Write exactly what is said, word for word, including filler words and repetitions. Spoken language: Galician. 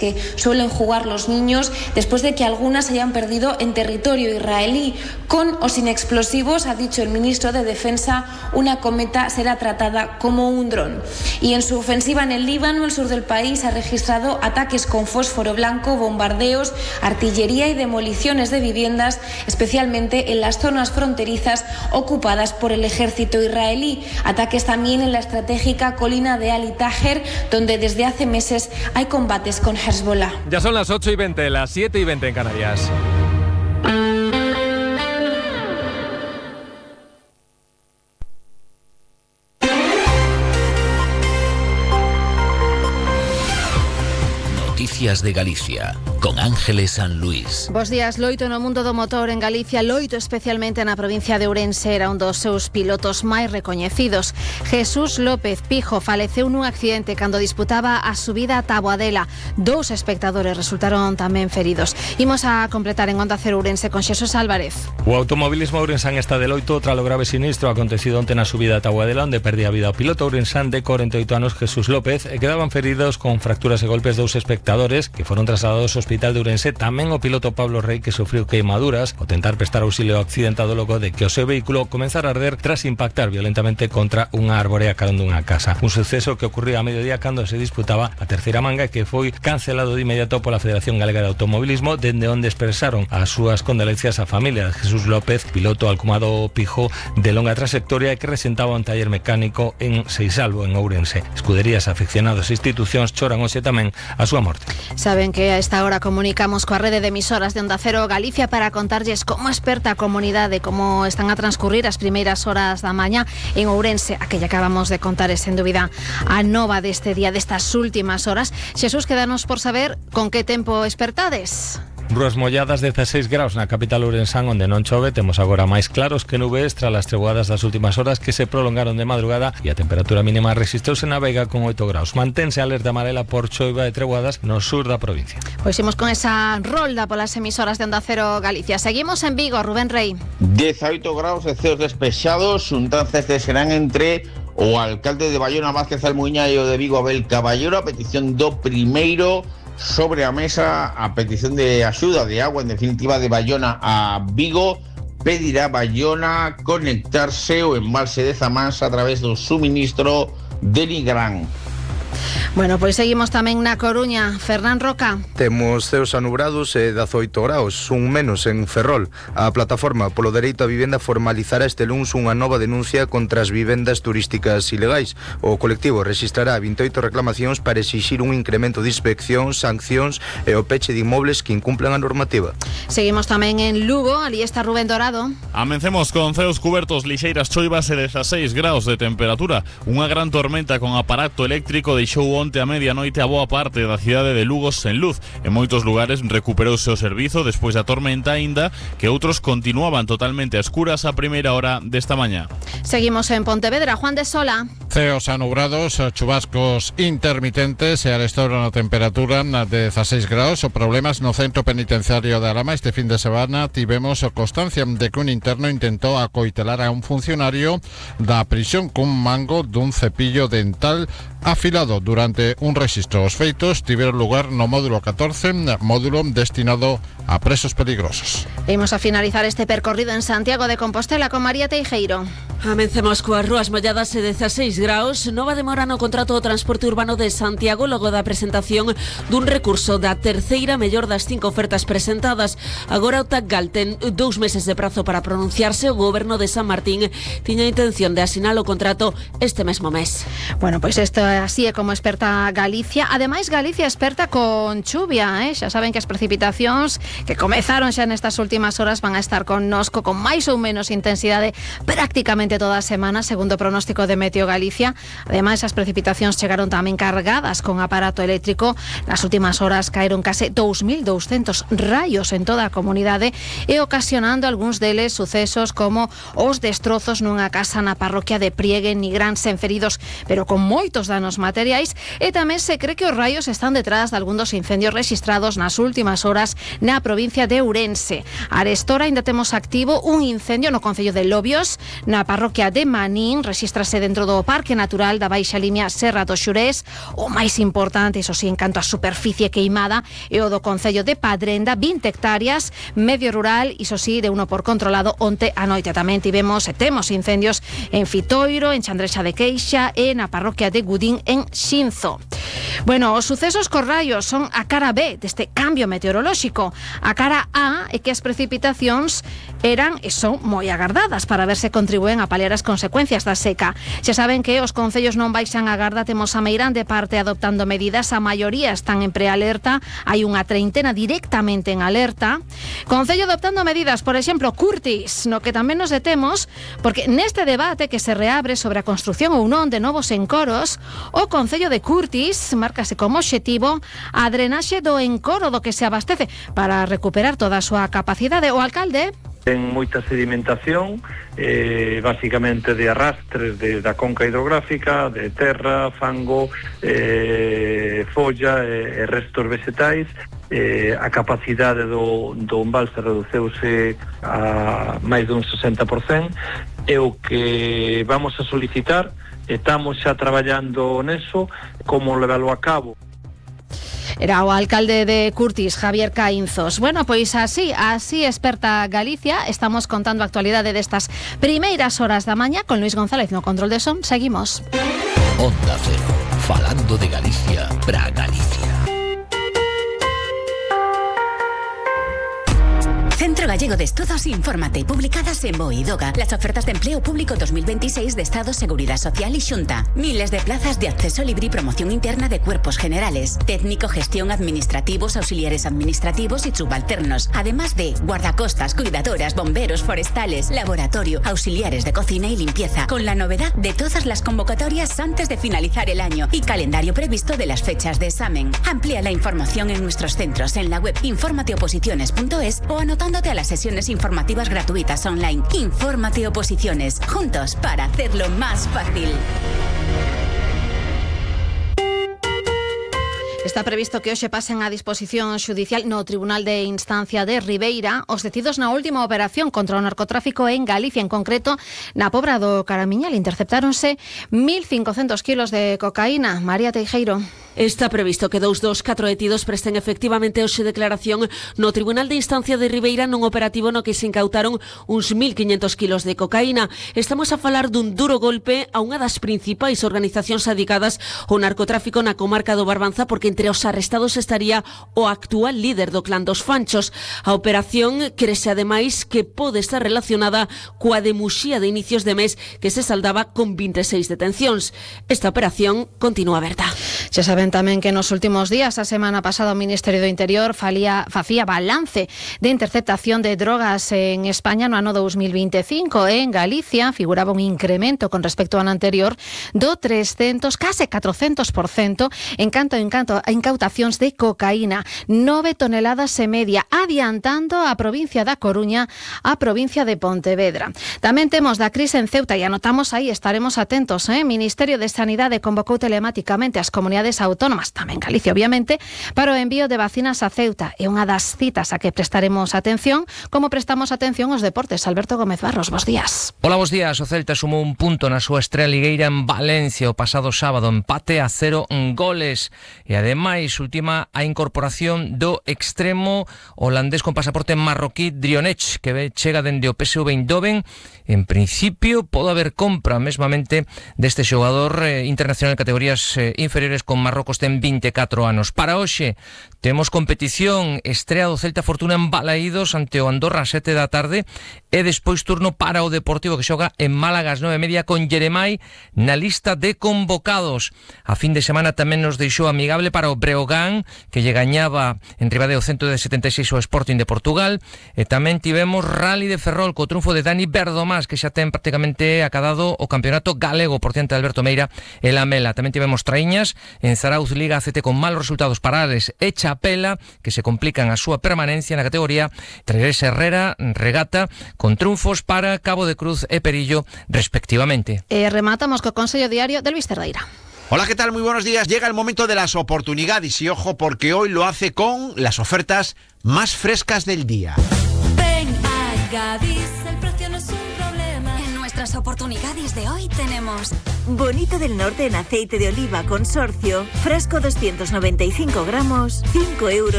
que suelen jugar los niños después de que algunas se hayan perdido en territorio israelí. Con o sin explosivos, ha dicho el ministro de Defensa, una cometa será tratada como un dron. Y en su ofensiva en el Líbano, el sur del país, ha registrado ataques con fósforo blanco, bombardeos, artillería y demoliciones de viviendas, especialmente en las zonas fronterizas ocupadas por el ejército israelí. Ataques también en la estratégica colina de Ali Taher, donde desde hace meses hay combates con Hezbollah. Ya son las ocho y veinte, las siete y veinte en Canarias. Noticias de Galicia, con Ángeles San Luís. Bos días. Loito no mundo do motor en Galicia, loito especialmente na provincia de Ourense, era un dos seus pilotos máis recoñecidos. Jesús López Pijo faleceu nun accidente cando disputaba a subida a Taboadela. Dous espectadores resultaron tamén feridos. Imos a completar en Onda Cero Ourense con Xesús Álvarez. O automobilismo ourensán está de loito tras o grave sinistro acontecido onte na subida a Taboadela, onde perdía a vida o piloto ourensán de corenta e oito anos Jesús López, e quedaban feridos con fracturas e golpes dous espectadores que foron trasladados ao Hospital de Ourense, tamén o piloto Pablo Rey, que sufriu queimaduras ao tentar prestar auxilio ao accidentado logo de que o seu vehículo comenzara a arder tras impactar violentamente contra unha árbore a carón dunha casa. Un suceso que ocurriu a mediodía cando se disputaba a terceira manga, que foi cancelado de inmediato pola Federación Galega de Automobilismo, dende onde expresaron as súas condolencias á familia de Jesús López, piloto alcumado Pijo de longa trayectoria e que resentaba un taller mecánico en Seisalvo, en Ourense. Escuderías, aficionados e institucións choran hoxe tamén a súa morte. Saben que a esta hora comunicamos coa rede de emisoras de Onda Cero Galicia para contarlles como esperta a comunidade, como están a transcurrir as primeiras horas da mañá en Ourense, a que lle acabamos de contar, é sen dúbida a nova deste día, destas últimas horas. Xesús, quédanos por saber con que tempo espertades. Rúas molladas, dezasseis graus na capital ourensán, onde non chove. Temos agora máis claros que nubes tras as treboadas das últimas horas que se prolongaron de madrugada, e a temperatura mínima resistrouse na Veiga con oito graus. Mantense alerta amarela por choiva e treboadas no sur da provincia. Pois imos con esa rolda polas emisoras de Onda Cero Galicia. Seguimos en Vigo, Rubén Rey. dezaoito graus e ceos despexados, xuntanzas que serán entre o alcalde de Bayona, Vázquez Almuña, e o de Vigo, Abel Caballero, a petición do primeiro sobre a mesa, a petición de axuda de agua, en definitiva, de Bayona a Vigo. Pedirá Bayona conectarse o embalse de Zamás a través do suministro de Nigrán. Bueno, pois seguimos tamén na Coruña. Fernán Roca. Temos ceos anubrados e dezaoito graus, un menos en Ferrol. A plataforma polo dereito á vivenda formalizará este luns unha nova denuncia contra as vivendas turísticas ilegais. O colectivo rexistrará vinte e oito reclamacións para exixir un incremento de inspeccións, sancións e o peche de inmobles que incumplan a normativa. Seguimos tamén en Lugo, ali está Rubén Dorado. Amencemos con ceos cubertos, lixeiras choivas e dezasseis graus de temperatura. Unha gran tormenta con aparato eléctrico deixou onte a medianoite a boa parte da cidade de Lugo sen luz. En moitos lugares recuperouse o servizo despois da tormenta, aínda que outros continuaban totalmente a escuras a primeira hora desta mañá. Seguimos en Pontevedra, Juan de Sola. Ceos anubrados, chubascos intermitentes e a restaura na temperatura de dezasseis graus. O problemas no centro penitenciario de Alama. Este fin de semana tivemos constancia de que un interno intentou acoitelar a un funcionario da prisión cun mango dun cepillo dental afilado durante un rexistro. Os feitos tiveron lugar no módulo catorce, módulo destinado a presos peligrosos. Imos a finalizar este percorrido en Santiago de Compostela con María Teijeiro. Amencemos coas rúas molladas e dezasseis graus. Nova demora no contrato do transporte urbano de Santiago logo da presentación dun recurso da terceira mellor das cinco ofertas presentadas. Agora o Tacgal ten dous meses de prazo para pronunciarse. O goberno de San Martín tiña a intención de asinar o contrato este mesmo mes. Bueno, pois isto así é como experta Galicia. Ademais, Galicia experta con chuvia, eh? Xa saben que as precipitacións que comezaron xa nestas últimas horas van a estar connosco con máis ou menos intensidade prácticamente toda a semana, segundo o pronóstico de Meteo Galicia. Ademais, as precipitacións chegaron tamén cargadas con aparato eléctrico. Nas últimas horas caeron case dous mil douscentos raios en toda a comunidade e ocasionando algúns deles sucesos como os destrozos nunha casa na parroquia de Priegue, Nigrán, sen feridos, pero con moitos danos materiais. E tamén se cree que os raios están detrás de algún dos incendios registrados nas últimas horas na provincia de Ourense. Arestora ainda temos activo un incendio no concello de Lobios, na parroquia parroquia de Manín, rexístrase dentro do Parque Natural da Baixa Limia Serra do Xurés. O máis importante, iso sí, en canto a superficie queimada, é o do Concello de Padrenda, vinte hectáreas, medio rural, iso sí, de uno por controlado. Onte a noite tamén tivemos e temos incendios en Fitoiro, en Chandrexa de Queixa e na parroquia de Gudín en Xinzo. Bueno, os sucesos cos raios son a cara B deste cambio meteorolóxico. A cara A é que as precipitacións eran e son moi agardadas para ver se contribúen a paliar as consecuencias da seca. Xa saben que os concellos non baixan a garda, temos a meirande parte adoptando medidas, a maioría están en prealerta, hai unha treintena directamente en alerta. Concello adoptando medidas, por exemplo, Curtis, no que tamén nos detemos, porque neste debate que se reabre sobre a construción ou non de novos encoros, o Concello de Curtis márcase como obxectivo a drenaxe do encoro do que se abastece para recuperar toda a súa capacidade. O alcalde ten moita sedimentación, eh, basicamente de arrastres de, da conca hidrográfica, de terra, fango, eh, folla e eh, restos vegetais. Eh, a capacidade do, do embalse reduceuse a máis dun sesenta por cento. E o que vamos a solicitar, estamos xa traballando neso, como levalo a cabo. Era o alcalde de Curtis, Javier Caínzos. Bueno, pois así, así experta Galicia. Estamos contando a actualidade destas primeiras horas da mañá con Luis González no control de son. Seguimos. Onda Cero, falando de Galicia para Galicia. Centro Gallego de Estudos, infórmate. Publicadas en Boidoga. Las ofertas de empleo público dos mil veintiséis de Estado, Seguridad Social y Xunta. Miles de plazas de acceso libre y promoción interna de cuerpos generales. Técnico, gestión, administrativos, auxiliares administrativos y subalternos. Además de guardacostas, cuidadoras, bomberos, forestales, laboratorio, auxiliares de cocina y limpieza. Con la novedad de todas las convocatorias antes de finalizar el año y calendario previsto de las fechas de examen. Amplía la información en nuestros centros en la web informateoposiciones punto es o anotando a las sesiones informativas gratuitas online. Infórmate Oposiciones, juntos para hacerlo más fácil. Está previsto que hoxe pasen a disposición xudicial no Tribunal de Instancia de Ribeira os detidos na última operación contra o narcotráfico en Galicia, en concreto na Pobra do Caramiñal. Interceptáronse mil cincocentos kilos de cocaína. María Teijeiro. Está previsto que dous dos catro detidos presten efectivamente hoxe declaración no Tribunal de Instancia de Ribeira nun operativo no que se incautaron uns mil quinhentos kilos de cocaína. Estamos a falar dun duro golpe a unha das principais organizacións dedicadas ao narcotráfico na comarca do Barbanza, porque entre os arrestados estaría o actual líder do clan dos Fanchos. A operación crese ademais que pode estar relacionada coa de Muxía de inicios de mes, que se saldaba con veintiséis detencións. Esta operación continúa aberta. Xa saben tamén que nos últimos días, a semana pasada, o Ministerio do Interior falía, facía balance de interceptación de drogas en España no ano dos mil veinticinco. En Galicia figuraba un incremento con respecto ao ano anterior do trescentos, case catrocentos por cento en canto en canto a incautacións de cocaína, nove toneladas e media, adiantando a provincia da Coruña a provincia de Pontevedra. Tamén temos da crise en Ceuta e anotamos aí, estaremos atentos, eh? Ministerio de Sanidade convocou telemáticamente as comunidades autónomas, tamén Galicia, obviamente, para o envío de vacinas a Ceuta. É unha das citas a que prestaremos atención, como prestamos atención aos deportes. Alberto Gómez Barros, bos días. Hola, bos días. O Celta sumou un punto na súa estrea ligueira en Valencia o pasado sábado, empate a cero en goles. E ademais, última a incorporación do extremo holandés con pasaporte marroquí Drionech, que chega dende o P S V Eindhoven. En principio, pode haber compra mesmamente deste xogador eh, internacional en categorías eh, inferiores con Marrocos, ten vinte e catro anos. Para hoxe temos competición, estrea do Celta Fortuna en Balaídos ante o Andorra a sete da tarde e despois turno para o Deportivo, que xoga en Málaga ás nove e media con Jeremai na lista de convocados. A fin de semana tamén nos deixou amigable para o Breogán, que lle gañaba en Ribadeo cento setenta e seis ao Sporting de Portugal, e tamén tivemos Rally de Ferrol co triunfo de Dani Verdomás, que xa ten prácticamente acadado o campeonato galego por diante de Alberto Meira e Lamela. Tamén tivemos traíñas en Zarauz, Liga A C T con malos resultados para Ares e Chapela, que se complican a súa permanencia na categoría. Traerés Herrera, Regata, con triunfos para Cabo de Cruz e Perillo, respectivamente. E rematamos co Consello Diario de Luis Cerdeira. Hola, ¿qué tal? Muy buenos días. Llega el momento de las oportunidades y ojo, porque hoy lo hace con las ofertas más frescas del día. Ven a Gadis, el precio no es un problema. En nuestras las oportunidades de hoy tenemos Bonito del Norte en aceite de oliva consorcio, frasco doscientos noventa y cinco gramos, cinco euros.